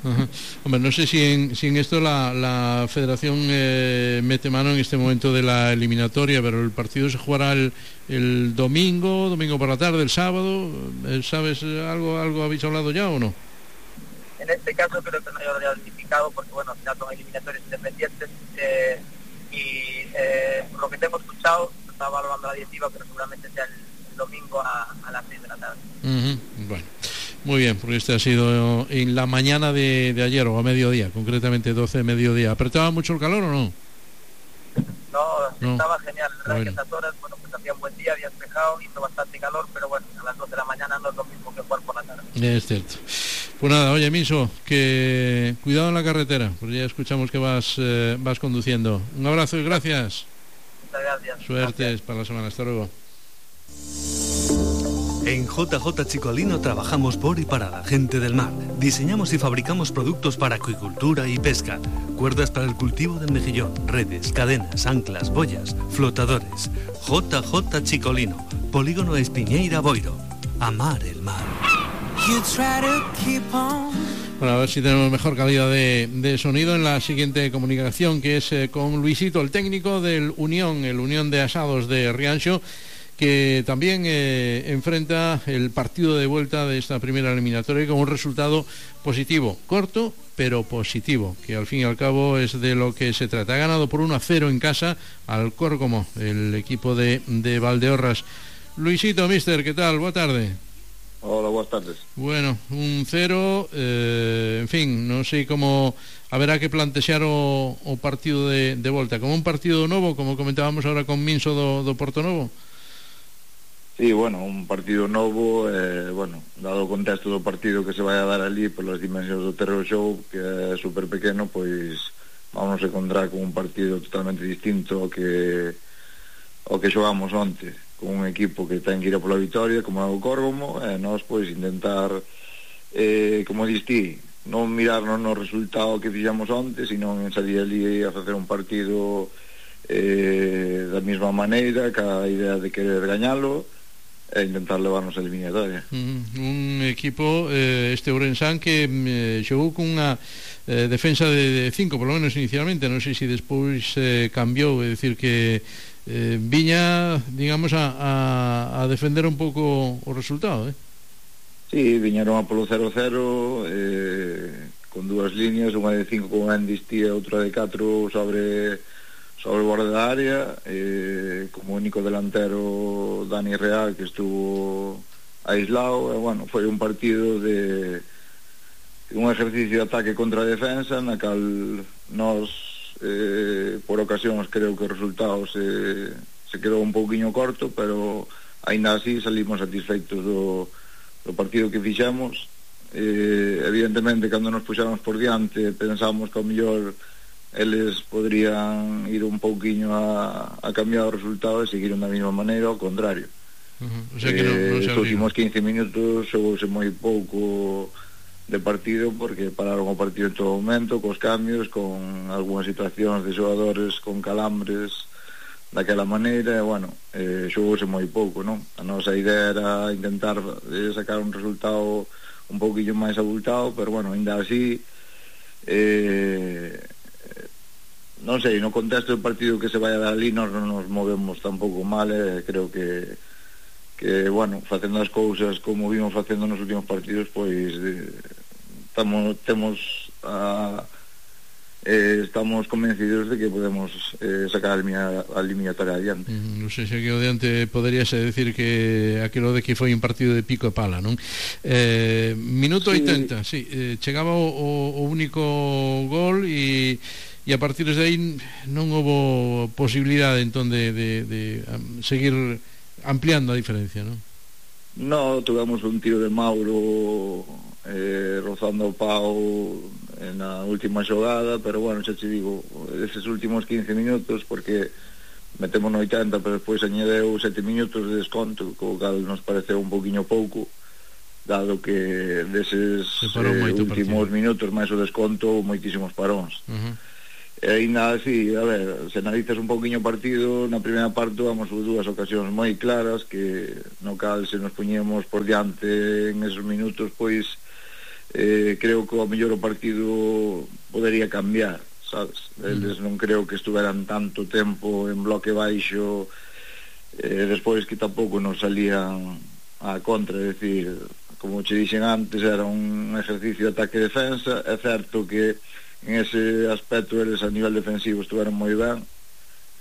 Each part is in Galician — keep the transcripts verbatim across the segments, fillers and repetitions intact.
Ajá. Hombre, no sé si en, si en esto la, la federación eh, mete mano en este momento de la eliminatoria, pero el partido se jugará el, el domingo, domingo por la tarde, el sábado. ¿Sabes algo, algo habéis hablado ya o no? En este caso creo que no hay identificado porque, bueno, al final son eliminatorias independientes eh, y eh, por lo que tengo escuchado, estaba hablando la directiva, pero seguramente sea el, el domingo a, a las seis de la tarde. Uh-huh. Bueno, muy bien, porque este ha sido en la mañana de, de ayer o a mediodía, concretamente doce de mediodía. ¿Apretaba mucho el calor o no? No, no. Estaba genial, la verdad bueno. que estas horas, bueno, pues hacía un buen día, había despejado, hizo bastante calor, pero bueno, a las dos de la mañana no es lo mismo que jugar por la tarde. Es cierto. Pues nada, oye, Miso, que cuidado en la carretera, porque ya escuchamos que vas eh, vas conduciendo. Un abrazo y gracias. Muchas gracias. Suerte Gracias. para la semana. Hasta luego. En J J Chicolino trabajamos por y para la gente del mar. Diseñamos y fabricamos productos para acuicultura y pesca. Cuerdas para el cultivo del mejillón, redes, cadenas, anclas, boyas, flotadores. J J Chicolino, Polígono Espiñeira Boiro. Amar el mar. Bueno, a ver si tenemos mejor calidad de, de sonido en la siguiente comunicación, que es eh, con Luisito, el técnico del Unión, el Unión de Asados de Rianxo, que también eh, enfrenta el partido de vuelta de esta primera eliminatoria con un resultado positivo, corto pero positivo, que al fin y al cabo es de lo que se trata. Ha ganado por uno a cero en casa al Córgomo, el equipo de, de Valdeorras. Luisito, mister, ¿qué tal? Buena tarde. Hola, buenas tardes. Bueno, un cero, eh, en fin, non sei como haberá que plantexar o, o partido de, de volta, como un partido novo, como comentábamos ahora con Minso do, do Porto Novo. Sí, bueno, un partido novo, eh, bueno, dado o contexto do partido que se vai a dar ali polas dimensións do Terror Show, que é super pequeno, pois vamos a encontrar con un partido totalmente distinto ao que ao que xogamos onte, con un equipo que ten que ir a pola vitoria, como é o Córgomo, e nós, pois, intentar, eh, como distí, non mirarnos no resultado que fixamos onte, sino en salir ali a facer un partido eh, da mesma maneira, ca idea de querer gañalo, e intentar levarnos a eliminatoria. Mm, un equipo, eh, este Ourensán, que eh, xogou cunha eh, defensa de cinco, por lo menos inicialmente, non sei se despois eh, cambiou, é dicir que eh, viña, digamos, a, a, a defender un pouco o resultado, eh? Sí, viñeron a polo cero cero, eh, con dúas líneas, unha de cinco con Endistí e outra de catro sobre sobre o borde da área, eh, como único delantero Dani Real, que estuvo aislado, e bueno, foi un partido de un ejercicio de ataque contra a defensa, na cal nós eh, por ocasións creo que o resultado se, se quedou un pouquiño corto, pero aínda así salimos satisfeitos do, do partido que fixemos. Eh, evidentemente, cando nos puxamos por diante, pensamos que ao mellor eles podrían ir un pouquiño a, a cambiar o resultado e seguir da mesma maneira, ao contrario. Uh-huh. O sea que non, non eh, se os últimos quince minutos xogouse moi pouco de partido, porque pararon o partido en todo momento, cos cambios, con algunhas situacións de xogadores con calambres daquela maneira, e bueno, eh, xogouse moi pouco, non? A nosa idea era intentar eh, sacar un resultado un pouquinho máis abultado, pero bueno, ainda así eh, non sei, no contexto do partido que se vai a dar ali nós non nos movemos tampouco mal, eh, creo que que, bueno, facendo as cousas como vimos facendo nos últimos partidos, pois eh, estamos, temos a, eh, estamos convencidos de que podemos eh, sacar a eliminatoria adiante. Mm, non sei se aquí adiante poderíase decir que aquilo de que foi un partido de pico e pala, non? Eh, minuto sí. oitenta, sí, eh, chegaba o, o único gol e e a partir de aí non houbo posibilidade entón de, de, de seguir ampliando a diferencia, non? No, tuvamos un tiro de Mauro eh, rozando o pau na última xogada, pero bueno, xa te digo, eses últimos quince minutos, porque metemos no oitenta, pero despois añadeu sete minutos de desconto, co cal nos pareceu un poquinho pouco, dado que deses eh, últimos minutos máis o desconto moitísimos paróns. Uh-huh. E ainda así, a ver, se analizas un pouquiño o partido, na primeira parte vamos por dúas ocasións moi claras, que no cal se nos puñemos por diante en esos minutos, pois eh, creo que ao mellor o partido podería cambiar, sabes? Eles non creo que estuveran tanto tempo en bloque baixo, eh, despois que tampouco nos salían a contra, é dicir, como che dixen antes, era un ejercicio de ataque e defensa. É certo que en ese aspecto eles a nivel defensivo estuveron moi ben,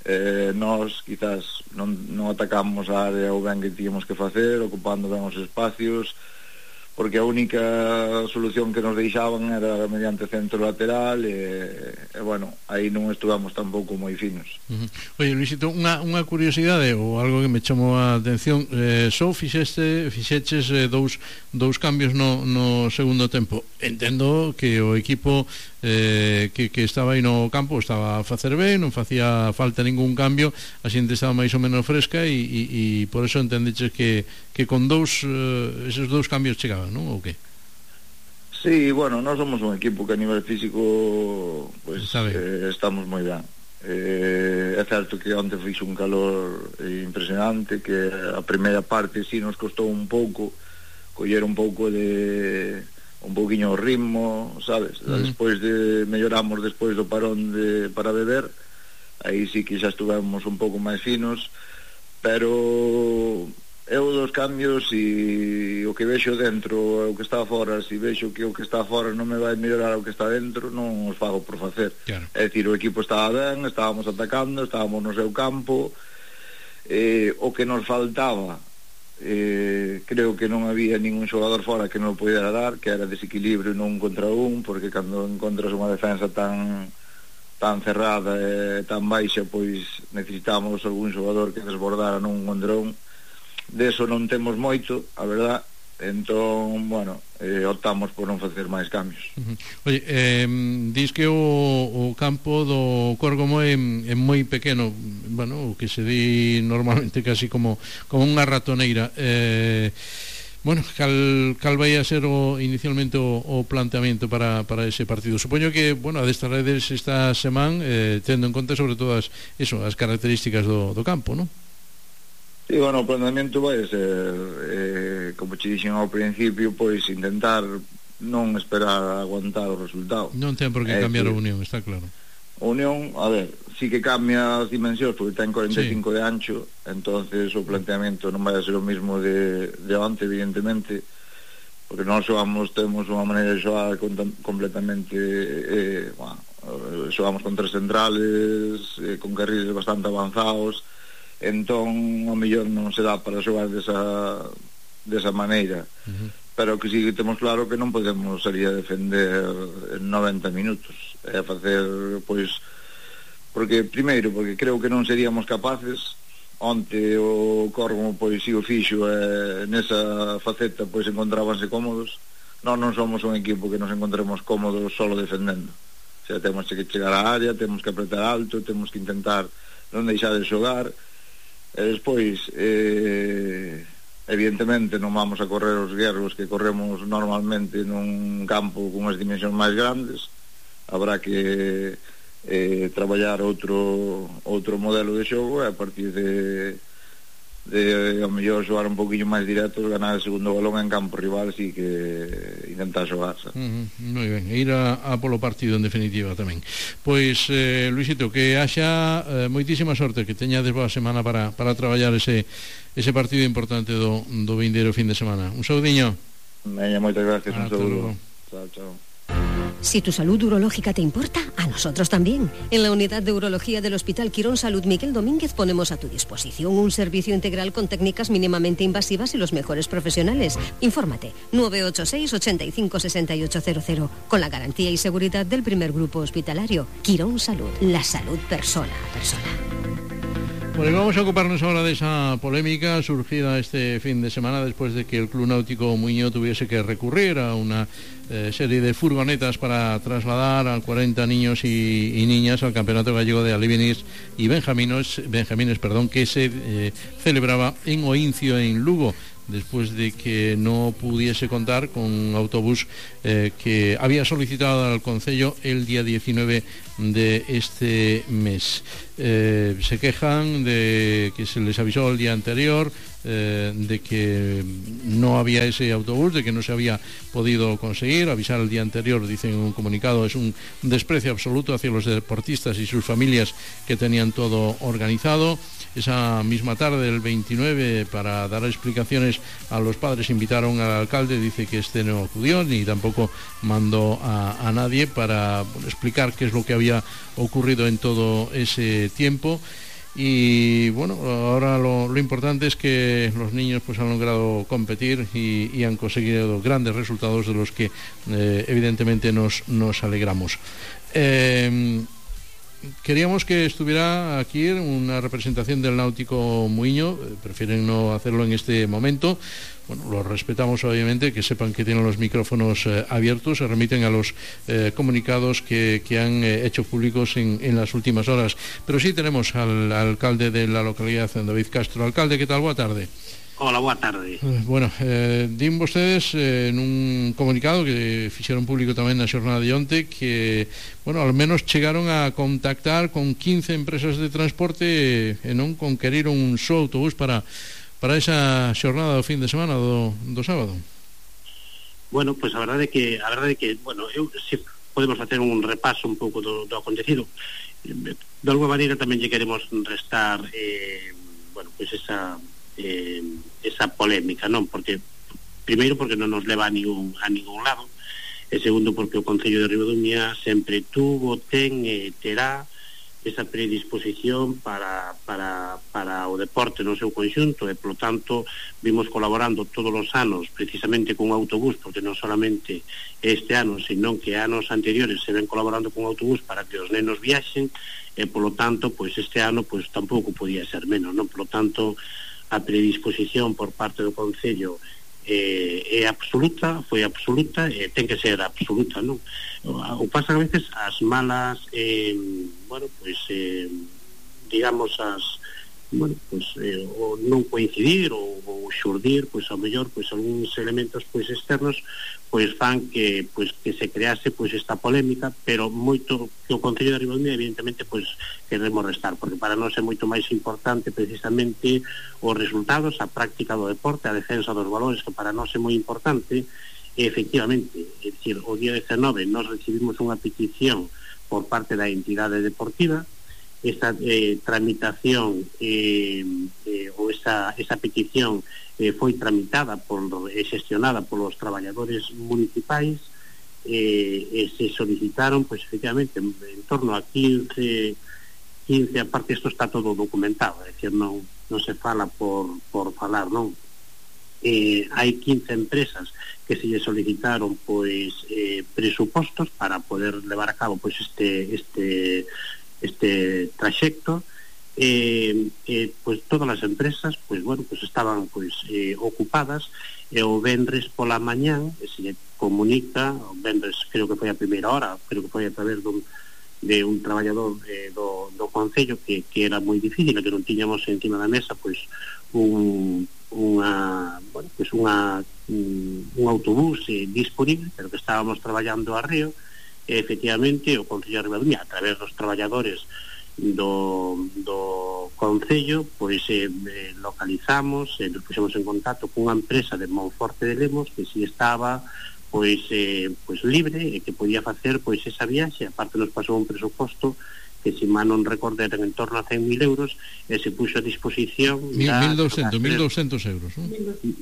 eh, nós quizás non, non atacamos a área o ben que tíamos que facer, ocupando ben os espacios, porque a única solución que nos deixaban era mediante centro lateral e, e bueno, aí non estuvamos tampouco moi finos. Uh-huh. Oye, Luisito, unha, unha curiosidade ou algo que me chamou a atención, eh, só fixeste, fixeches eh, dous, dous cambios no, no segundo tempo. Entendo que o equipo eh, que, que estaba aí no campo estaba a facer ben, non facía falta ningún cambio, a xente estaba máis ou menos fresca e, e, e por eso entendeches que, que con dous eh, esos dous cambios chegaban, non? Ou que? Sí, bueno, nós somos un equipo que a nivel físico pues, eh, estamos moi ben. Eh, é certo que onte fixo un calor impresionante, que a primeira parte sí nos costou un pouco coller un pouco de un pouquiño o ritmo, sabes? Uh-huh. Despois de melloramos despois do parón de, para beber, aí sí que xa estuvemos un pouco máis finos, pero eu dos cambios e o que vexo dentro é o que está fora. Se vexo que o que está fora non me vai mellorar o que está dentro, non os fago por facer. Claro. É dicir, o equipo estaba ben, estábamos atacando, estábamos no seu campo, eh, o que nos faltaba, eh, creo que non había ningún xogador fora que non o pudera dar, que era desequilibrio nun contra un, porque cando encontras unha defensa tan tan cerrada e tan baixa, pois necesitamos algún xogador que desbordara nun contra un. De eso non temos moito, a verdad. Entón, bueno, eh, optamos por non facer máis cambios. Uh-huh. Oye, eh, dis que o, o campo do Córgomo é, é moi pequeno, bueno, o que se di normalmente casi como, como unha ratoneira. Eh, bueno, cal, cal vai a ser o, inicialmente o, o planteamento para, para ese partido? Supoño que, bueno, a destas redes esta semana, eh, tendo en conta sobre todo as, eso, as características do, do campo, non? E, bueno, o planteamento vai ser, eh, como che dixen ao principio, pois intentar non esperar a aguantar o resultado. Non ten por que eh, cambiar a Unión, está claro. A Unión, a ver, sí que cambia as dimensións, porque ten cuarenta e cinco sí. de ancho, entonces o planteamento non vai a ser o mismo de, de onte, evidentemente, porque nós xogamos, temos unha maneira de xogar completamente, eh, bueno, xogamos con tres centrales, eh, con carriles bastante avanzados, entón o mellor non se dá para xogar desa, desa maneira. Uh-huh. Pero que sí que temos claro que non podemos salir a defender en noventa minutos, é facer, pois, porque primeiro, porque creo que non seríamos capaces. Onte o Córgomo pois si o fixo, e nesa faceta pois encontrábanse cómodos. Non non somos un equipo que nos encontremos cómodos solo defendendo, o sea, temos que chegar á área, temos que apretar alto, temos que intentar non deixar de xogar. E despois, eh, evidentemente non vamos a correr os guerros que corremos normalmente nun campo con as dimensións máis grandes. Habrá que eh, traballar outro outro modelo de xogo, e a partir de de ao mellor xogar un poquinho máis directo, ganar o segundo balón en campo rival, así que intentar xogar, ¿sabes? Uh-huh, moi ben, e ir a, a polo partido en definitiva tamén. Pois, eh, Luisito, que haxa eh, moitísima sorte, que teñades boa semana para, para traballar ese, ese partido importante do, do vindeiro fin de semana. Un saudiño. Veña, moitas gracias, un saúdo. Chao, chao. Si tu salud urológica te importa, a nosotros también. En la unidad de urología del Hospital Quirón Salud Miguel Domínguez ponemos a tu disposición un servicio integral con técnicas mínimamente invasivas y los mejores profesionales. Infórmate, nueve ocho seis, ochenta y cinco, sesenta y ocho cero cero, con la garantía y seguridad del primer grupo hospitalario. Quirón Salud, la salud persona a persona. Bueno, vamos a ocuparnos ahora de esa polémica surgida este fin de semana después de que el Club Náutico Muiño tuviese que recurrir a una eh, serie de furgonetas para trasladar a cuarenta niños y, y niñas al Campeonato Gallego de Alevines y Benjamines, Benjamines perdón, que se eh, celebraba en Oincio, en Lugo. después de que no pudiese contar con un autobús eh, que había solicitado al Concello el día diecinueve de este mes. Eh, se quejan de que se les avisó el día anterior, eh, de que no había ese autobús, de que no se había podido conseguir. Avisar el día anterior, dicen en un comunicado, es un desprecio absoluto hacia los deportistas y sus familias que tenían todo organizado. Esa misma tarde, el veintinueve, para dar explicaciones a los padres, invitaron al alcalde. Dice que este no acudió ni tampoco mandó a, a nadie para explicar qué es lo que había ocurrido en todo ese tiempo. Y bueno, ahora lo, lo importante es que los niños pues han logrado competir y, y han conseguido grandes resultados de los que eh, evidentemente nos, nos alegramos. Eh, Queríamos que estuviera aquí una representación del Náutico Muiño, prefieren no hacerlo en este momento. Bueno, los respetamos obviamente, que sepan que tienen los micrófonos eh, abiertos, se remiten a los eh, comunicados que, que han eh, hecho públicos en, en las últimas horas. Pero sí tenemos al, al alcalde de la localidad, David Castro. Alcalde, ¿qué tal? Boa tarde. Hola, boa tarde. Eh, bueno, eh, din vostedes eh, en un comunicado que fixeron público tamén na xornada de onte que, bueno, al menos chegaron a contactar con quince empresas de transporte e non conqueriron un só autobús para, para esa xornada do fin de semana do, do sábado. Bueno, pois pues a verdade é que, a verdade é que, bueno, eu, se podemos facer un repaso un pouco do, do acontecido. De alguma maneira tamén lle queremos restar, eh, bueno, pois pues esa... Eh, esa polémica, non? Porque primeiro porque non nos leva a ningún, a ningún lado, e segundo porque o Concello de Ribadumia sempre tuvo, ten e terá esa predisposición para, para, para o deporte no seu conxunto, e polo tanto vimos colaborando todos os anos precisamente con un autobús, porque non solamente este ano, senón que anos anteriores se ven colaborando con un autobús para que os nenos viaxen, e polo tanto, pois este ano pois tampouco podía ser menos, non? Polo tanto, a predisposición por parte do Concello eh, é absoluta, foi absoluta e ten que ser absoluta, non? O pasa que a veces as malas eh, bueno, pois eh, digamos as bueno, pois eh, o non coincidir ou, ou xurdir, pois ao mellor pois algúns elementos pois externos pois fan que pois que se crease pois esta polémica, pero moito que o Concello de Ribadumia evidentemente pois queremos restar, porque para nós é moito máis importante precisamente os resultados, a práctica do deporte, a defensa dos valores, que para nós é moi importante. E efectivamente, é dicir, o día dezenove nós recibimos unha petición por parte da entidade deportiva. Esta eh, tramitación eh, eh, ou esa, esa petición eh, foi tramitada por, e xestionada polos traballadores municipais eh, e se solicitaron pois efectivamente en, en torno a quince, quince, aparte isto está todo documentado, é dicir, non, non se fala por, por falar, non? Eh, hai quince empresas que se lle solicitaron pois eh, presupostos para poder levar a cabo pois este este este traxecto, eh, eh, pois todas as empresas pois bueno, pois estaban pois eh, ocupadas, e o vendres pola mañán se lle comunica, o vendres creo que foi a primeira hora, creo que foi a través dun, de un traballador eh, do, do Concello que, que era moi difícil, que non tiñamos encima da mesa pois un unha, bueno, pois unha un, un autobús eh, disponible, pero que estábamos traballando a río. E efectivamente o Concello de Ribadumia, a través dos traballadores do, do Concello, pois eh, localizamos e eh, nos puxemos en contacto cunha empresa de Monforte de Lemos que si estaba pois, eh, pois libre e que podía facer pois esa viaxe. Aparte nos pasou un presuposto que, si mal non recordo, eran en torno a cen mil euros, e se puxo a disposición mil doscientos euros, ¿no?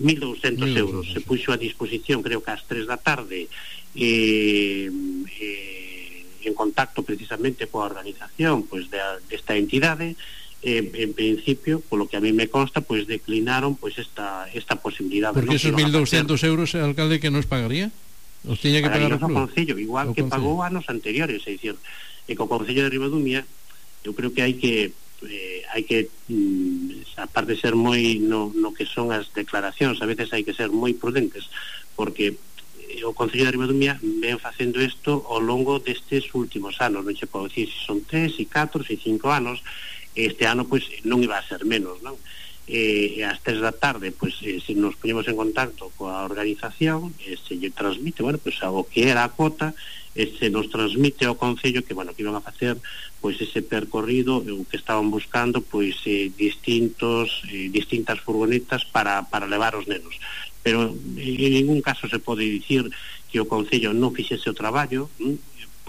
mil doscientos euros se puxo a disposición, creo que ás tres da tarde, eh, eh, en contacto precisamente coa organización pois de, desta entidade. Eh, en principio, polo que a mí me consta, pois declinaron pois esta esta posibilidade. Porque ¿no? esos mil doscientos euros, el alcalde, que nos pagaría? Os tiña que pagar o club? O Concello, igual o que Concello pagou anos anteriores, é dicir, e co Concello de Ribadumia eu creo que hai que eh, hai que mm, aparte de ser moi no, no que son as declaracións, a veces hai que ser moi prudentes, porque o Concello de Ribadumia ven facendo isto ao longo destes últimos anos, non se pode dicir se son tres, e catro, e cinco anos. Este ano pois non iba a ser menos, non? e ás tres da tarde pois eh, se nos poñemos en contacto coa organización e se lle transmite, bueno, pois o que era a cota, e se nos transmite ao Concello que, bueno, que iban a facer pois ese percorrido, o que estaban buscando pois eh, distintos eh, distintas furgonetas para, para levar os nenos, pero en ningún caso se pode dicir que o Concello non fixese o traballo.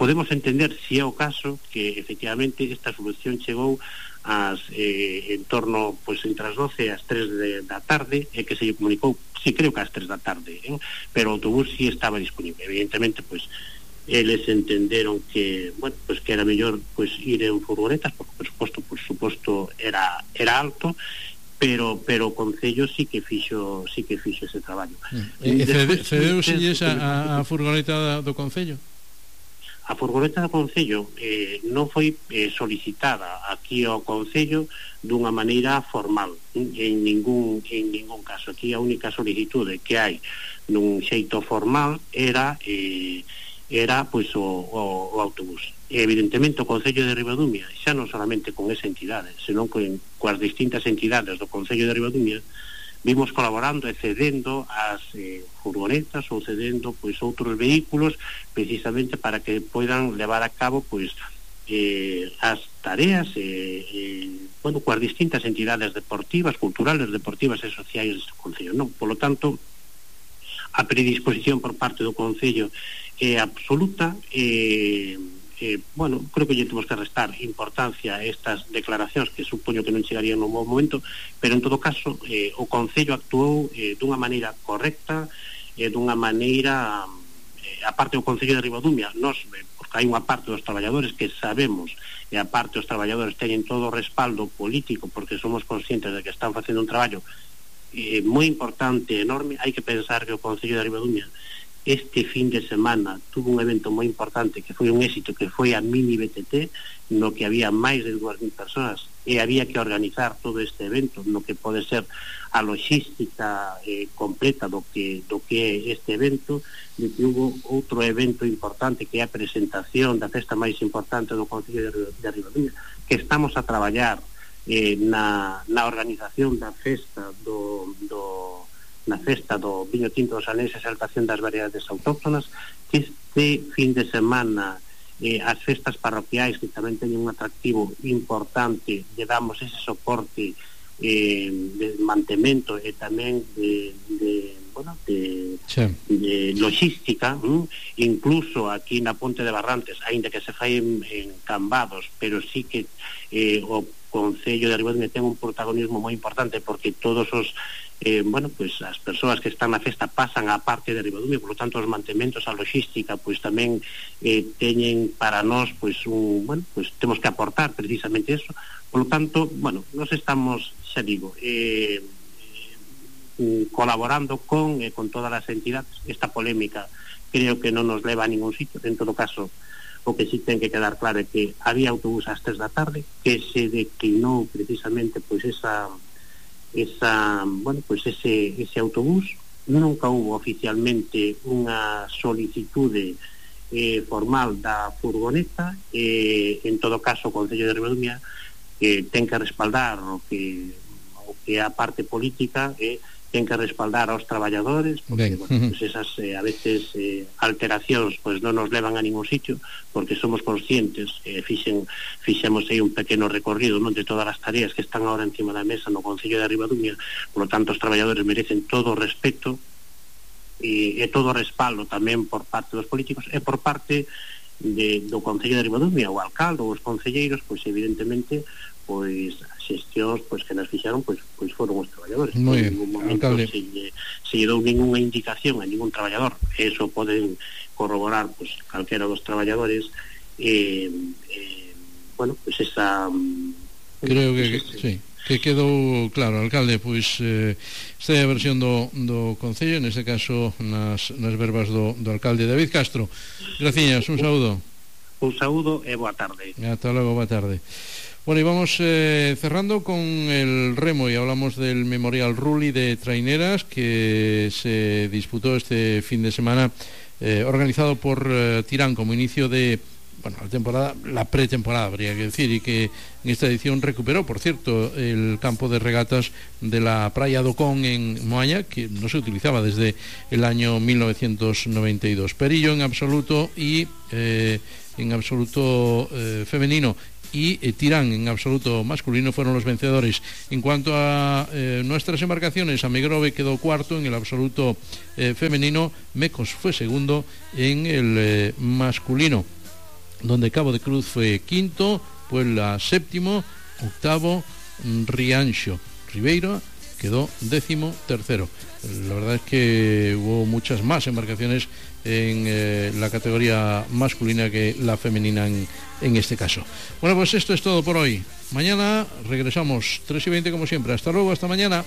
Podemos entender, se é o caso, que efectivamente esta solución chegou as, eh, en torno, pois, entre as doce e as tres de, da tarde, e que se lle comunicou, sí, creo que ás tres da tarde, eh? Pero o autobús sí estaba disponible. Evidentemente, pois, eles entenderon que, bueno, pois que era mellor pois ir en furgonetas, porque, por suposto, por suposto, era, era alto, pero pero o Concello sí que fixo sí que fixo ese traballo. E cedeuselles a, a furgoneta do Concello? A furgoneta do Concello eh, non foi eh, solicitada aquí ao Concello dunha maneira formal, en ningún, en ningún caso. Aquí a única solicitude que hai nun xeito formal era eh, era pois o, o, o autobús. E evidentemente o Concello de Ribadumia, xa non solamente con esa entidade, senón con, coas distintas entidades do Concello de Ribadumia, vimos colaborando e cedendo as eh, furgonetas ou cedendo pois outros vehículos precisamente para que poidan levar a cabo pois eh, as tareas eh, eh, bueno, coas distintas entidades deportivas, culturales, deportivas e sociais do Concello. Non, polo tanto, a predisposición por parte do Concello é absoluta. e Eh, bueno, creo que lle temos que restar importancia a estas declaracións que supoño que non chegarían no bom momento, pero en todo caso eh, o Concello actuou eh, dunha maneira correcta, eh, dunha maneira eh, a parte do Concello de Ribadumia, nós, eh, porque hai unha parte dos traballadores que sabemos, e a parte dos traballadores teñen todo o respaldo político porque somos conscientes de que están facendo un traballo eh, moi importante, enorme. Hai que pensar que o Concello de Ribadumia este fin de semana tuvo un evento moi importante que foi un éxito, que foi a Mini B T T, no que había máis de dúas mil personas e había que organizar todo este evento, no que pode ser a logística eh, completa do que do que é este evento, de que hubo outro evento importante que é a presentación da festa máis importante do Concello de, de Ribadumia, que estamos a traballar eh, na, na organización da festa do, do na festa do viño tinto dos Aneses e exaltación das variedades autóctonas, que este fin de semana eh, as festas parroquiais, que tamén teñen un atractivo importante, lle damos ese soporte eh, de mantemento e tamén de, de, bueno, de, sí. de logística, ¿m? Incluso aquí na Ponte de Barrantes, aínda que se fai en, en Cambados, pero sí que eh, o Concello de Ribadumia ten un protagonismo moi importante, porque todos os Eh, bueno, pues as persoas que están na festa pasan á parte de Ribadumia, por lo tanto os mantementos, a logística, pois tamén eh, teñen para nós, pois un, bueno, pues temos que aportar precisamente eso. Por lo tanto, bueno, nos estamos, xa digo, eh, eh, colaborando con eh, con todas as entidades. Esta polémica creo que non nos leva a ningún sitio. En todo caso, o que sí ten que quedar claro é que había autobús ás tres da tarde, que se declinou precisamente pois esa esa, bueno, pues ese, ese autobús. Nunca hubo oficialmente unha solicitude eh, formal da furgoneta. Eh, en todo caso o Concello de Ribadumia eh, ten que respaldar o que o que a parte política eh, ten que respaldar aos traballadores, porque bueno, pues esas eh, a veces eh, alteracións pues non nos levan a ningún sitio, porque somos conscientes, eh, fixen, fixemos aí un pequeno recorrido, non, de todas as tareas que están agora encima da mesa no Concello de Ribadumia. Por lo tanto, os traballadores merecen todo o respeto e, e todo o respaldo tamén por parte dos políticos e por parte de, do Concello de Ribadumia, o alcalde ou os concelleiros, pois evidentemente pois as xestións pois que nos fixeron pois pois foron os traballadores. Moi en ningún momento se lle, se lle dou ninguna indicación a ningún traballador. Eso poden corroborar pois calquera dos traballadores. eh, eh, bueno, pois esa creo que, pues, que sí, que quedou claro, alcalde. Pois eh, esta é a versión do, do Concello, neste caso nas, nas verbas do, do alcalde David Castro. Graciñas, un saúdo. Un saúdo e boa tarde. Hasta logo, boa tarde. Bueno, y vamos eh, cerrando con el remo, y hablamos del Memorial Rulli de Traineras, que se disputó este fin de semana, eh, organizado por eh, Tirán como inicio de, bueno, la temporada, la pretemporada habría que decir, y que en esta edición recuperó, por cierto, el campo de regatas de la Praia do Con en Moaña, que no se utilizaba desde el año mil novecientos noventa y dos. Perillo en absoluto y eh, en absoluto eh, femenino y eh, Tirán en absoluto masculino fueron los vencedores. En cuanto a eh, nuestras embarcaciones, Amegrove quedó cuarto en el absoluto eh, femenino, Mecos fue segundo en el eh, masculino, donde Cabo de Cruz fue quinto, Puebla séptimo, octavo Rianxo, Ribeira quedó décimo tercero. La verdad es que hubo muchas más embarcaciones en eh, la categoría masculina que la femenina en, en este caso. Bueno, pues esto es todo por hoy. Mañana regresamos tres y veinte como siempre. Hasta luego, hasta mañana.